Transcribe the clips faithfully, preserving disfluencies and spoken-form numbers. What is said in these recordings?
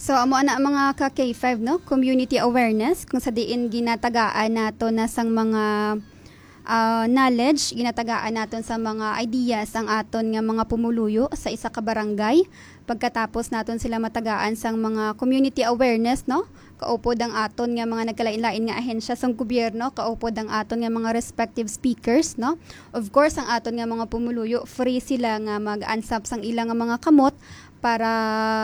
So, amo ana, mga ka K five, no? Community awareness, kung sa diin ginatagaan nato na sang mga, ah, knowledge, ginatagaan naton sa mga ideas ang aton nga mga pumuluyo sa isa ka barangay. Pagkatapos naton sila matagaan sang mga community awareness, no? Kaupod ang aton nga mga nagkalain-lain nga ahensya sang gobyerno, kaupod ang aton nga mga respective speakers, no? Of course, ang aton nga mga pumuluyo, free sila nga mag-ansap sang ila nga mga kamot para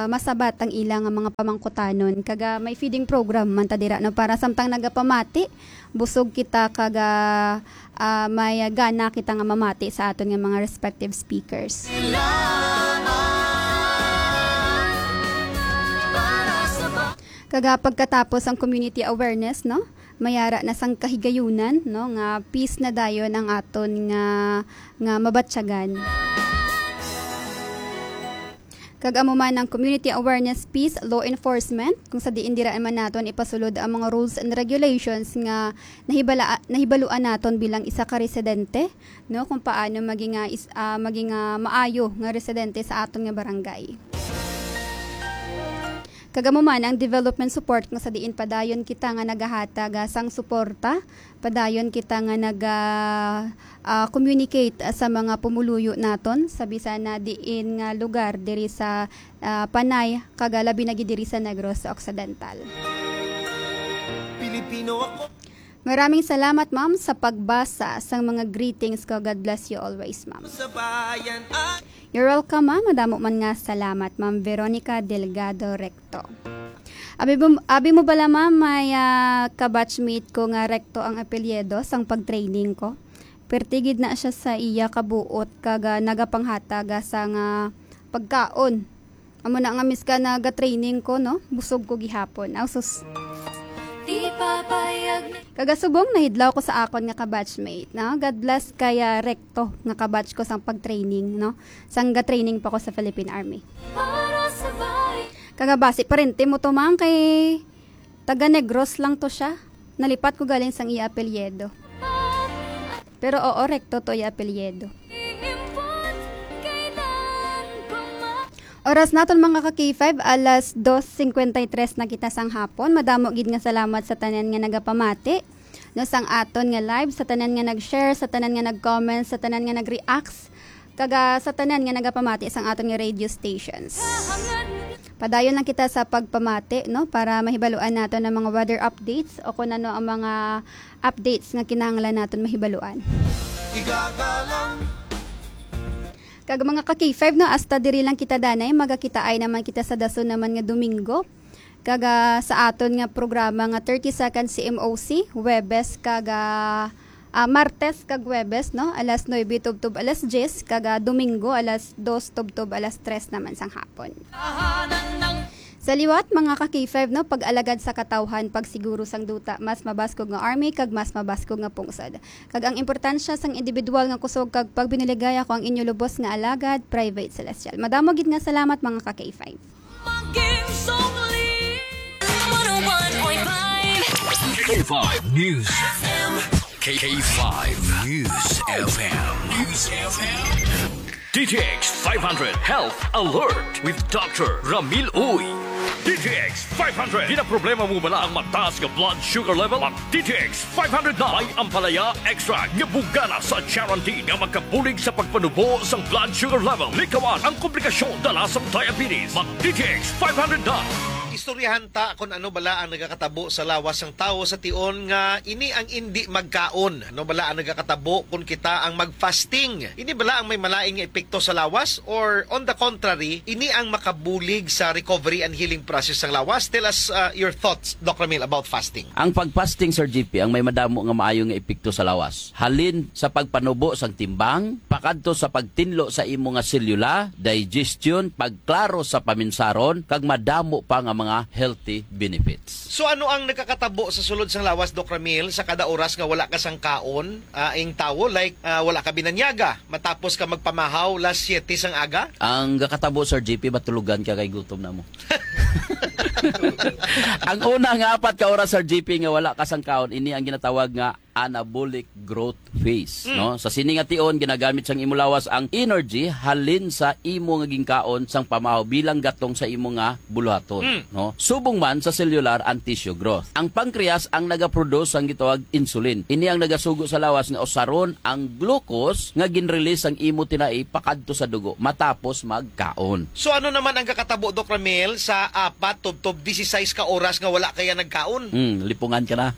masabat ang ila nga mga pamangkutanon. Kaga may feeding program man ta dira, no, para samtang nagapamati, busog kita, kaga, ah, may gana kita nga mamati sa aton nga mga respective speakers. Kaga pagkatapos ang community awareness, no, mayara na sang kahigayunan, no, nga peace na dayon ang aton nga, nga mabatyagan. Kag amo man ang community awareness, peace, law enforcement, kung sa diin dira man naton ipasulod ang mga rules and regulations nga nahibala-, nahibaluan naton bilang isa ka residente, no, kung paano maging, ah, is-, ah, maging, ah, maayo nga residente sa aton nga barangay. Kag amo man ang development support, kung sa diin padayon kita nga nagahatag, ah, sang suporta, padayon kita nga nag, ah, ah, communicate, ah, sa mga pumuluyo naton sa bisan na diin nga lugar diri sa, ah, Panay, kag, ah, labi na gid diri sa Negros Occidental. Pilipino ako. Maraming salamat, ma'am, sa pagbasa sang mga greetings ko. God bless you always, ma'am. Sa bayan ay You're welcome, ma'am. Madamo man nga salamat, Ma'am Veronica Delgado Recto. Abi mo, abi mo bala, ma'am, may, ah, kabatchmate ko nga Recto ang apelyido sang pag-training ko. Perti gid na siya sa iya kabuot kag, ah, nagapanghatag, ah, sa nga pagkaon. Amo na nga, miska naga-training ko, no, busog ko gihapon. Aw, sus. Di papayag na Kagasubong, nahidlaw ko sa akon nga kabatchmate, no? God bless kay, ah, Recto nga kabatch ko sang pag-training, no? Sang ga-training pa ko sa Philippine Army. Para sa bayan. Kagabasi, parente mo to, ma'am, kay taga Negros lang to siya. Nalipat ko galing sang iya apelyido. Pero oo, Recto to iya apelyido. Oras naton, mga ka K five, alas dos cincuenta y tres na kita sang hapon. Madamo gid nga salamat sa tanan nga nagapamati, no, sang aton nga live, sa tanan nga nag-share, sa tanan nga nag-comment, sa tanan nga nag-reacts, kag, ah, sa tanan nga nagapamati sang aton nga radio stations. Padayon lang kita sa pagpamati, no, para mahibaluan naton ang mga weather updates o kung ano ang mga updates nga kinahanglan naton mahibaluan. Igagalang. Kag mga ka K five, no, hasta diri lang kita danay, magakitaay naman kita sa dason naman nga Domingo. Kag, ah, sa aton nga programa nga thirty seconds C M O C, Huwebes kag, ah, ah, Martes kag Huwebes, no, alas nuebe tubtob alas diyes, kag, ah, Domingo alas dos tubtob alas tres naman sang hapon. Sa liwat, mga ka K five, no, pag-alagad sa katawhan, pagsiguro sang duta, mas mabaskog nga army, kag mas mabaskog nga pungsod. Kag ang importansya sang individual nga kusog kag pagbinuligay, ako ang inyo lubos nga alagad, Private Celestial. Madamo gid nga salamat, mga ka K five. Maging sungli. One oh one point five. K five News F M. K five News F M. News F M. D T X five hundred Health Alert with Doctor Ramil Uy. D T X five hundred. Ginaproblema mo bala ang mataas nga blood sugar level? Mag D T X five hundred na. May ampalaya extract nga bugana sa charantin nga magkabulig sa pagpanubo sang blood sugar level. Likawan ang komplikasyon dala sang diabetes. Mag D T X five hundred na. Istoryahan ta kung ano bala ang nagakatabo sa lawas sang tawo sa tion nga ini ang indi magkaon. Ano bala ang nagakatabo kung kita ang mag-fasting? Ini bala ang may malain nga epekto sa lawas, or on the contrary, ini ang makabulig sa recovery and healing process sang lawas? Tell us, uh, your thoughts, Doc Ramil, about fasting. Ang pag-fasting, Sir G P, ang may madamo nga maayo nga epekto sa lawas. Halin sa pagpanubo sang timbang, pakadto sa pagtinlo sa imo nga selula, digestion, pagklaro sa paminsaron, kag madamo pa nga mga healthy benefits. So, ano ang nagakatabo sa sulod sang lawas, Doc Ramil, sa kada oras nga wala ka sang kaon, ah, ing tawo, like, ah, wala ka binanyaga, matapos ka magpamahaw las siete sang aga? Ang gakatabo, Sir G P, matulogan ka kay gutom na mo. Ang una nga apat ka oras, Sir G P, nga wala ka sang kaon, ini ang ginatawag nga anabolic growth phase, Mm. no? Sa sini nga tion, ginagamit sang imo lawas ang energy halin sa imo nga ginkaon sang pamahaw bilang gatong sa imo nga buluhaton, Mm. no? Subong man sa cellular and tissue growth. Ang pancreas ang nagaproduce sang gitawag insulin. Ini ang nagasugo sa lawas nga usaron ang glucose nga ginrelease sang imo tinai pakadto sa dugo matapos magkaon. So, ano naman ang kakatabo, Doc Ramil, sa apat tubtob disisais ka oras nga wala kaya nagkaon? Hmm, lipungan ka na.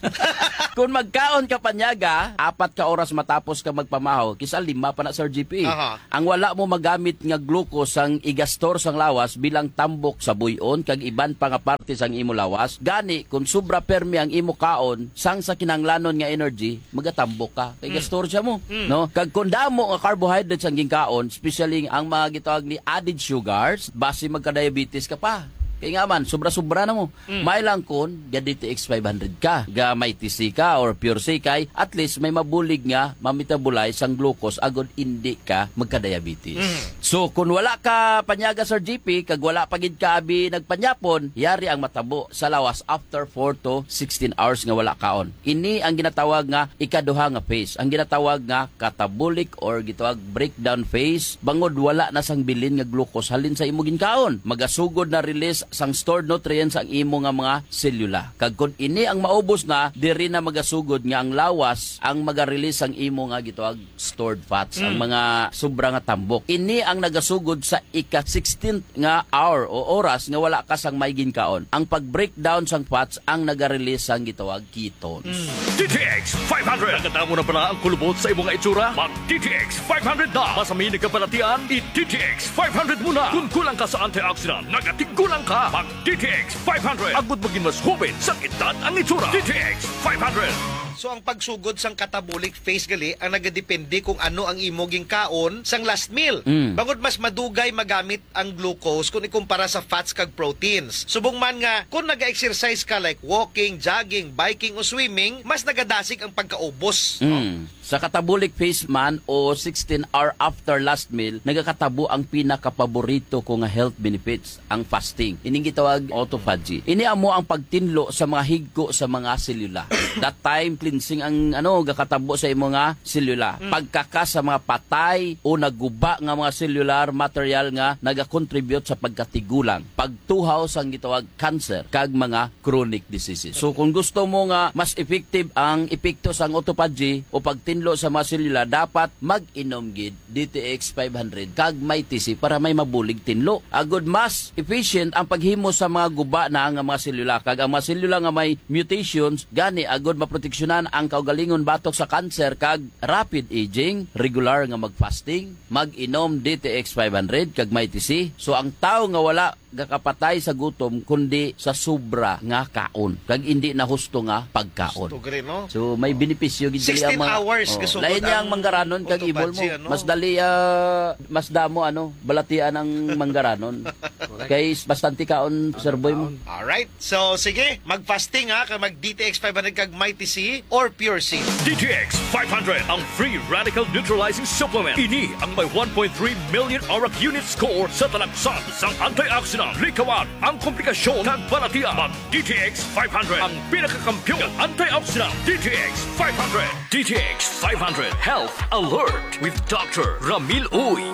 Kung magkaon ka panyaga, apat ka oras matapos ka magpamahaw, kisa lima pa na, Sir G P. Aha. Ang wala mo magamit nga glucose sang igastor sang lawas bilang tambok sa buy-on kag iban pa nga parte sang imo lawas. Gani, kung sobra permi ang imo kaon sang sa kinahanglanon nga energy, magatambok ka. Kay Mm. gastor siya mo, Mm. no? Kag kung damo nga carbohydrates ang ginkaon, especially ang mga gitawag ni added sugars, basi magka-diabetes ka pa. Kay nga man, sobra-sobra na mo. Mm. May lang kun ga D T X five hundred ka, ga Mighty C ka or Pure C kay, at least may mabulig nga ma-metabolize ang glucose agod indi ka magka-diabetes. Mm. So, kung wala ka panyaga, Sir G P, kag wala pa gid ka abi nagpanyapon, yari ang matabo sa lawas after four to sixteen hours nga wala kaon. Ini ang ginatawag nga ikaduha nga phase, ang ginatawag nga catabolic or gitawag breakdown phase, bangod wala na sang bilin nga glucose halin sa imo ginkaon. Magasugod na release sang stored nutrients ang imo nga mga selula. Kag kon ini ang maubos na, diri na magasugod nga ang lawas ang maga-release sang imo nga gitawag stored fats, ang Mm. mga sobra nga tambok. Ini ang nagasugod sa ika sixteenth nga hour o oras nga wala ka sang may ginkaon. Ang pag-breakdown sang fats ang naga-release sang gitawag ketones. Mm. D T X five hundred. Nakadamo na bala ang kulubot sa imo nga itsura? Mag D T X five hundred na. Masami nagkabalatian, i-D T X five hundred mo na. Kung kulang ka sa antioxidant, nagatigulang ka. Mag D T X five hundred. Agud maging mas hubin sa edad ang itsura. D T X five hundred. So, ang pagsugod sang catabolic phase gali ang nagadepende kung ano ang imo ginkaon sang last meal. Mm. Bangod mas madugay magamit ang glucose kung ikumpara sa fats kag proteins. Subong man nga, kung naga-exercise ka like walking, jogging, biking o swimming, mas nagadasig ang pagkaubos. Mm. Sa catabolic phase man o sixteen hour after last meal, nagakatabo ang pinakapaborito ko nga health benefits, ang fasting. Ining gitawag autophagy. Ini amo ang pagtinlo sa mga higko sa mga selula. That time, cleansing ang, ano, gakatabo sa imo nga selula. Mm. Pagkakas sa mga patay o naguba nga mga cellular material nga nagakontribute sa pagkatigulang, pagtuhaw sang gitawag cancer, kag mga chronic diseases. So, kung gusto mo nga mas effective ang epekto sang autophagy o pagtinlo sa mga selula, dapat mag-inom gid D T X five hundred kag Mighty C para may mabulig tinlo. Agud mas efficient ang paghimo sa mga guba na nga mga selula, kag ang mga selula nga may mutations gani agud maproteksyonan ang kaugalingon batok sa cancer kag rapid aging, regular nga mag-fasting, mag-inom D T X five hundred kag Mighty C. So, ang tawo nga wala gakapatay sa gutom, kundi sa sobra nga kaon, kag indi na husto nga pagkaon. Husto gani, no? So, may benepisyo gid gali ang sixteen mga, hours oh, kasugod lain niya ang ang manggaranon kag autophagy, ibol mo. Ano? Mas dali, ah, mas damo, ano, balatian ang manggaranon. Correct. Kay bastante kaon, Sir Boy mo. Kaon. Alright. So, sige, mag-fasting ha, kag mag D T X five hundred kag Mighty C or Pure C. D T X five hundred, ang free radical neutralizing supplement. Ini ang may one point three million ORAC unit score sa talaksan sang antioxidant. Likawan ang komplikasyon kag balatian. Mag D T X five hundred, ang pinakakampiyon nga antioxidant. D T X five hundred. D T X five hundred Health Alert with Doctor Ramil Uy.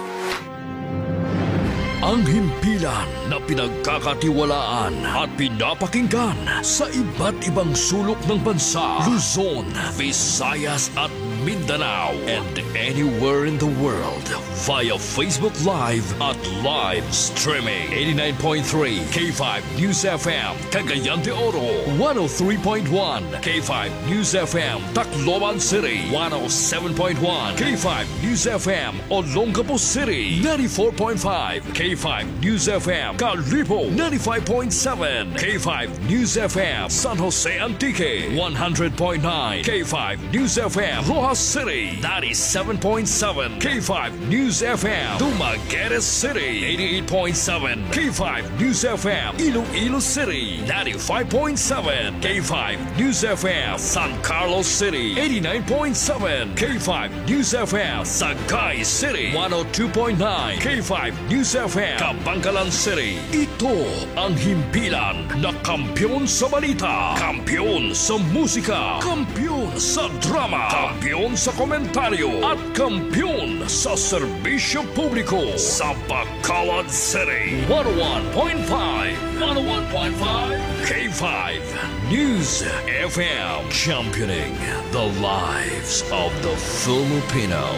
Ang himpilan na pinagkakatiwalaan at pinapakinggan sa iba't ibang sulok ng bansa, Luzon, Visayas at Mindanao, and anywhere in the world via Facebook Live at live streaming. Eighty-nine point three K five News F M, Cagayan de Oro, one oh three point one K five News F M, Tacloban City, one oh seven point one K five News F M, Olongapo City, ninety-four point five K five News F M, Kalibo, ninety-five point seven K five News F M, San Jose Antique, one hundred point nine K five News F M, Roxas City, ninety-seven point seven K five News F M, Dumaguete City, eighty-eight point seven K five News F M, Iloilo City, ninety-five point seven K five News F M, San Carlos City, eighty-nine point seven K five News F M, Sagay City, one oh two point nine K five News F M, Kabankalan City. Ito ang himpilan na kampiyon sa balita, kampiyon sa musika, kampiyon Sa drama, kampiyon sa komentaryo, at kampiyon sa serbisyo publiko. Sa Bacolod City, one oh one point five, one oh one point five K five News F M, championing the lives of the Filipino.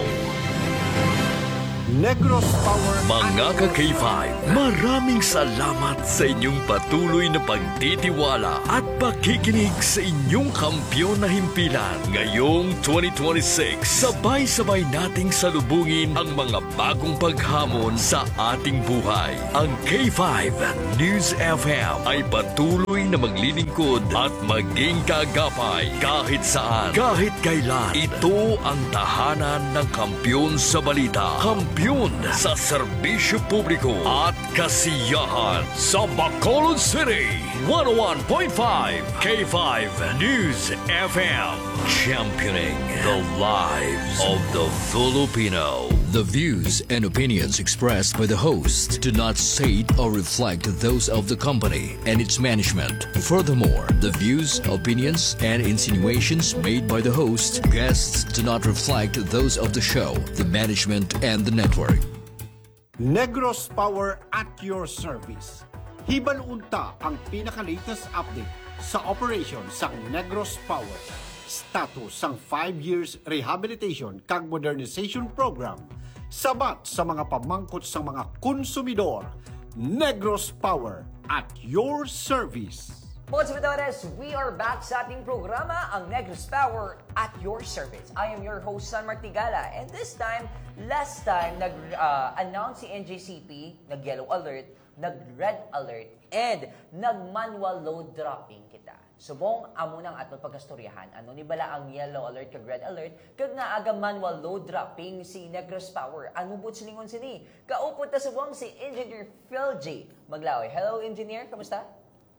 Negros Power. Mga ka K five, maraming salamat sa inyong patuloy na pagtitiwala at pakikinig sa inyong kampiyon na himpilan. Ngayong twenty twenty-six, sabay-sabay nating salubungin ang mga bagong paghamon sa ating buhay. Ang K five News F M ay patuloy na maglilingkod at maging kaagapay kahit saan, kahit kailan. Ito ang tahanan ng kampiyon sa balita, kampiyon sa serbisyo publiko at kasiyahan. Sa Bacolod City, one oh one point five K five News F M, championing the lives of the Filipino. The views and opinions expressed by the host do not state or reflect those of the company and its management. Furthermore, the views, opinions, and insinuations made by the host, guests do not reflect those of the show, the management, and the network. Negros Power at your service. Hibaluon ta ang pinaka-latest update sa operation sang Negros Power, status sang five years rehabilitation kag modernization program, sabat sa mga pamangkot sang mga konsumidor. Negros Power at your service. Mga subidores, we are back sa ating programa, ang Negros Power at your service. I am your host, San Martigala, and this time, last time, nag-announce si N J C P, nag-yellow alert, nag-red alert, and nag-manual load dropping kita. Subong, amo nang aton pagkastoryahan. Ano ni bala ang yellow alert kag red alert? Kag nga aga manual load dropping si Negros Power? Ano buot silingon sini? Kaupod ta subong si Engineer Phil J Maglaoy. Hello, Engineer. Kamusta?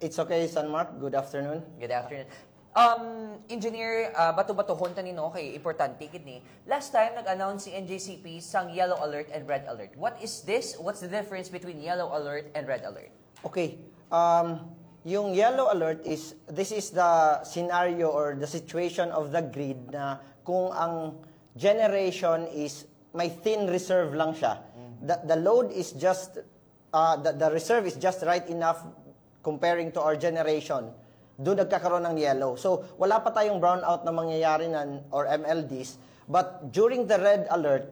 It's okay, San Mark. Good afternoon. Good afternoon. Um, Engineer, ah, bato-batohon ta ni, no, kay importante gid ni. Last time, nag-announce si N J C P sang yellow alert and red alert. What is this? What's the difference between yellow alert and red alert? Okay. Um, yung yellow alert is, this is the scenario or the situation of the grid na kung ang generation is may thin reserve lang siya. The, the load is just, uh, the, the reserve is just right enough comparing to our generation. Doon nagkakaroon ng yellow. So, wala pa tayong brownout na mangyayari na, or M L Ds. But during the red alert,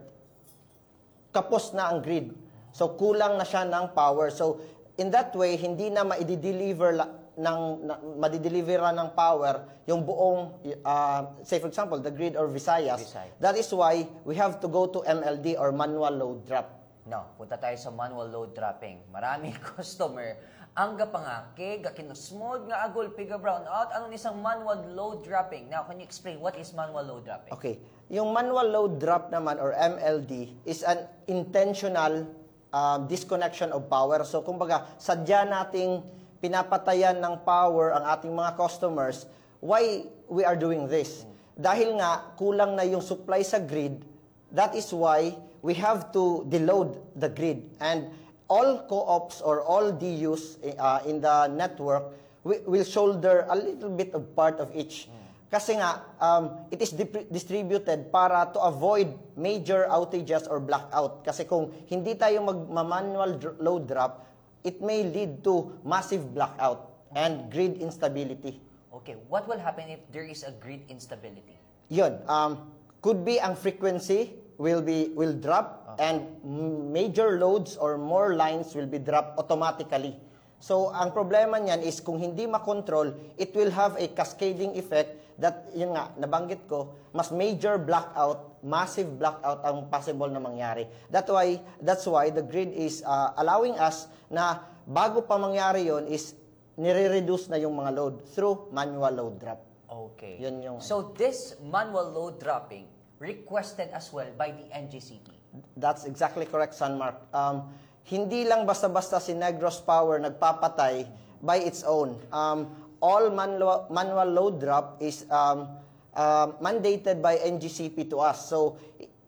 kapos na ang grid. So, kulang na siya ng power. So, in that way, hindi na maidi-deliver la-, ng, na, madideliveran ng power yung buong, ah, say for example, the grid or Visayas. Visay. That is why we have to go to M L D or manual load drop. No, punta tayo sa manual load dropping. Maraming customer ang gapangakig, gakinusmod nga agulpi, ga brownout. Ano ni sang manual load dropping? Now, can you explain what is manual load dropping? Okay. Yung manual load drop naman or M L D is an intentional, ah, disconnection of power. So, kumbaga, sadya nating pinapatayan ng power ang ating mga customers. Why we are doing this? Dahil nga kulang na yung supply sa grid, that is why we have to deload the grid. And all co-ops or all D Us, uh, in the network wi-, will shoulder a little bit of part of each. Kasi nga, um, it is dipri-, distributed para to avoid major outages or blackout. Kasi kung hindi tayo mag-, ma-manual dr-, load drop, it may lead to massive blackout and grid instability. Okay, what will happen if there is a grid instability? Yun, um, could be ang frequency will be, will drop, and m-, major loads or more lines will be dropped automatically. So, ang problema niyan is kung hindi makontrol, it will have a cascading effect that, yun nga, nabanggit ko, mas major blackout, massive blackout ang possible na mangyari. That's why, that's why the grid is, uh, allowing us na bago pa mangyari yon is nire-reduce na yung mga load through manual load drop. Okay. Yun yung So, this manual load dropping requested as well by the N G C P. That's exactly correct, San Mark. Um, hindi lang basta-basta si Negros Power nagpapatay by its own. Um, all manual, manual load drop is, um, uh, mandated by N G C P to us. So,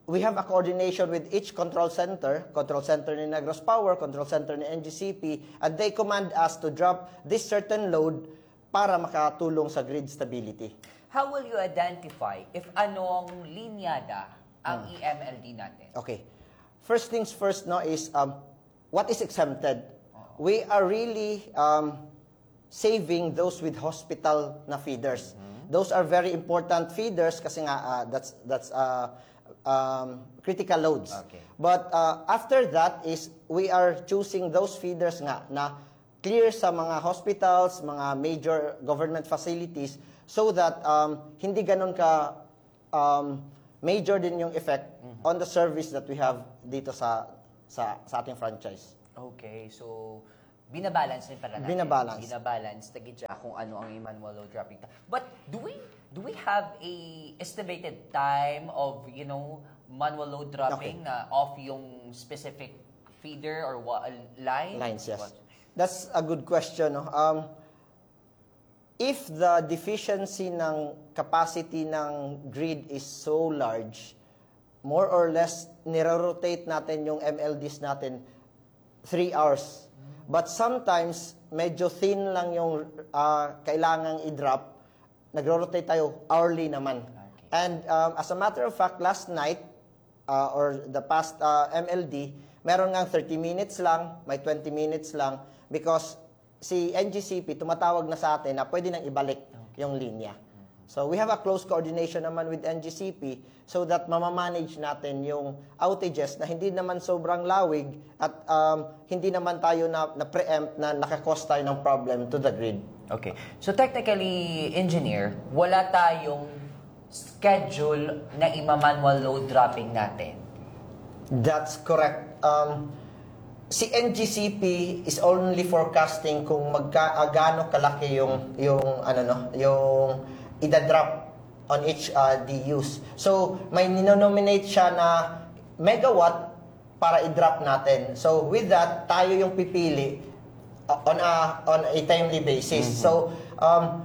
we have a coordination with each control center, control center ni Negros Power, control center ni N G C P, and they command us to drop this certain load para makatulong sa grid stability. How will you identify if anong linyada ang Hmm. E M L D natin? Okay. First things first, no, is um, what is exempted. Oo. We are really um, saving those with hospital na feeders. Those are very important feeders kasi nga uh, that's that's uh, um, critical loads. Okay. But uh, after that is we are choosing those feeders nga na clear sa mga hospitals, mga major government facilities so that um, hindi ganun ka um, major din yung effect on the service that we have dito sa sa sa ating franchise. Okay, so binabalance rin pala natin. Binabalance. Binabalance na gid siya kung ano ang manual load dropping. But do we do we have a estimated time of, you know, manual load dropping Okay. na of yung specific feeder or wa- line? Lines, yes. What? That's a good question. No? Um, if the deficiency ng capacity ng grid is so large, more or less, nire-rotate natin yung M L Ds natin three hours. But sometimes, medyo thin lang yung ah, kailangang i-drop, nagro-rotate tayo hourly naman. Okay. And um, as a matter of fact, last night, uh, or the past uh, M L D, meron nga thirty minutes lang, may twenty minutes lang, because si N G C P tumatawag na sa atin na pwede nang ibalik yung linya. So we have a close coordination naman with N G C P so that mamamanage natin yung outages na hindi naman sobrang lawig at um, hindi naman tayo na, na-preempt na nakakos tayo ng problem to the grid. Okay. So technically, engineer, wala tayong schedule na ima-manual load dropping natin. That's correct. Um, si N G C P is only forecasting kung magka ah, gaano kalaki yung yung ano no, yung idadrop on each uh, D Us. So may ninonominate siya na megawatt para i-drop natin. So with that, tayo yung pipili uh, on a on a timely basis. So um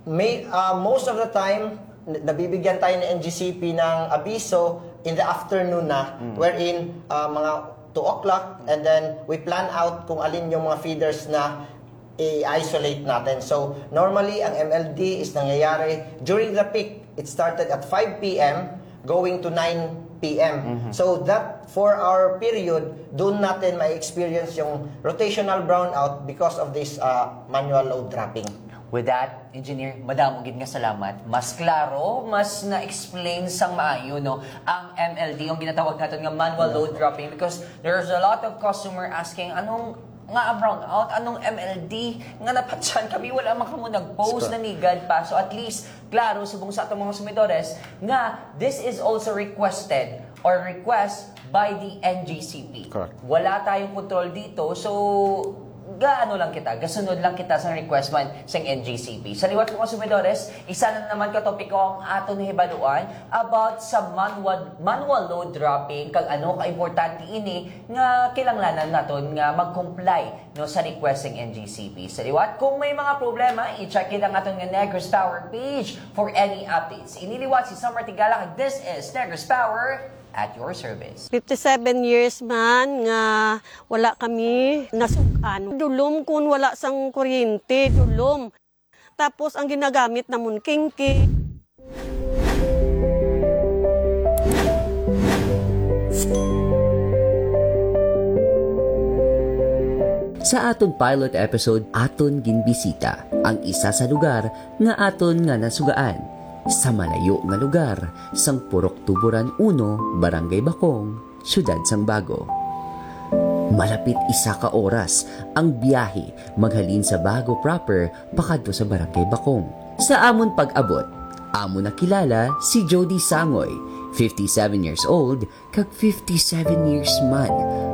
may uh, most of the time n- nabibigyan tayo ng N G C P ng abiso in the afternoon na wherein uh, mga two o'clock and then we plan out kung alin yung mga feeders na i-isolate natin. So normally ang M L D is nangyayari during the peak. It started at five p.m. going to nine p.m. So that four hour period, doon natin ma-experience yung rotational brownout because of this uh, manual load dropping. With that, engineer, madamo gid nga salamat. Mas klaro, mas na-explain sang maayo, no, ang M L D, ang ginatawag naton nga manual load dropping, because there's a lot of customer asking, "Anong nga brownout? Anong M L D?" Nga napatyan kami, wala man kamo nag-post, Sure. Nanigad pa. So at least, klaro subong sa atong mga sumidores nga this is also requested or request by the N G C P. Correct. Wala tayong control dito, so gaano lang kita, gasunod lang kita sa request man sa N G C P. Sa liwat, mga sumidores, isa na naman ka topiko ang aton nahibaluan about sa manual, manual load dropping, kag ano ka importante ini nga kinahanglanan naton nga mag-comply, no, sa request sang N G C P. Sa liwat, kung may mga problema, i-check it ang aton nga Negros Power page for any updates. Ini liwat si Sam Artigala, kag this is Negros Power at your service. Fifty-seven years man nga wala kami nasug-an. Dulom kun wala sang kuryente, dulom. Tapos ang ginagamit namon, kingki. Sa aton pilot episode, aton ginbisita ang isa sa lugar nga aton nga nasugaan, sa malayo nga lugar sang Purok Tuburan uno, Barangay Bacong, Siyudad sang Bago. Malapit isa ka oras ang biyahe maghalin sa Bago proper pakadto sa Barangay Bacong. Sa amon pag-abot, amo nakilala si Jody Sangoy, fifty-seven years old, kag fifty-seven years man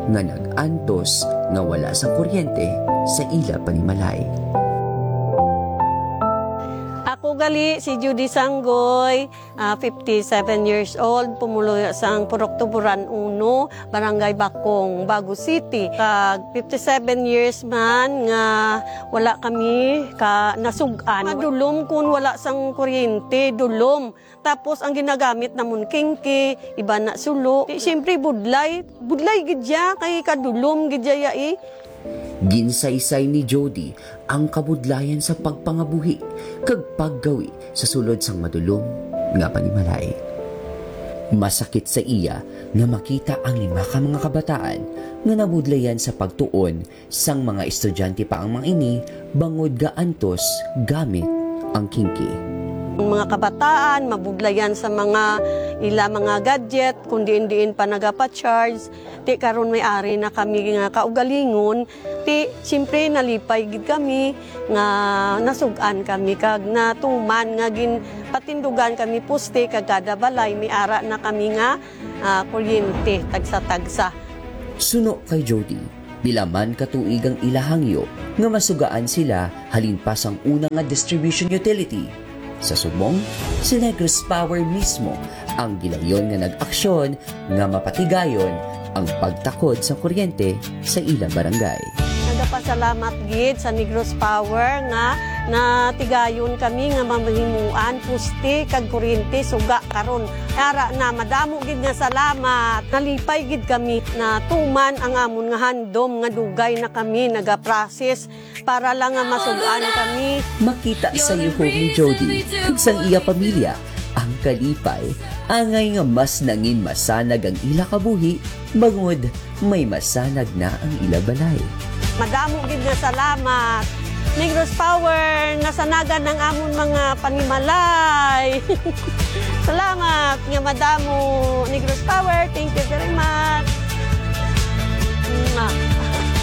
nga nag-antos nga wala sang kuryente sa ila panimalay. Ako gali si Judy Sanggoy, ah, fifty-seven years old, pumuluyo sang Purok Tuburan uno, Barangay Bacong, Bago City. Kag fifty-seven years man nga wala kami ka nasug-an. Madulom kun wala sang kuryente, dulom. Tapos ang ginagamit namon kingki, iba na sulo. Di, siyempre budlay, budlay gid siya kay kadulom gid siya eh. Ginsaysay ni Jody ang kabudlayan sa pagpangabuhi kag paggawi sa sulod sang madulom nga panimalay. Masakit sa iya nga makita ang lima ka mga kabataan nga nabudlayan sa pagtuon sang mga estudyante pa ang mga ini bangod ga antos gamit ang kinki. Ang mga kabataan mabudlayan sa mga ila mga gadget kung diin-diin pa nagapa-charge. Ti karon may ari na kami nga kaugalingon, ti siyempre nalipay gid kami nga nasug-an kami kag natuman nga ginpatindugan kami poste kag kada balay may ara na kami nga, ah, kuryente tagsa-tagsa. Suno kay Jody, pila man ka tuig ang ila hangyo nga masugaan sila halin pa sang una nga distribution utility. Sa subong, si Negros Power mismo ang gilayon nga nag-aksyon nga mapatigayon ang pagtakod sa kuryente sa ila barangay. Nagapasalamat gid sa Negros Power nga natigayon kami nga mamahimuan poste kag kuryente suga karon. Ara na, madamo gid nga salamat. Nalipay gid kami, natuman ang amon nga handom nga dugay na kami nagaprocess para lang nga masug-an kami. Makita sa yuhob ni Jody kag sang iya pamilya ang kalipay, angay nga mas nangin masanag ang ila kabuhi bangod may masanag na ang ila balay. Madamo gid nga salamat. Negros Power, nasanagan ang amon mga panimalay. Salamat nga madamo, Negros Power. Thank you very much. Mwah.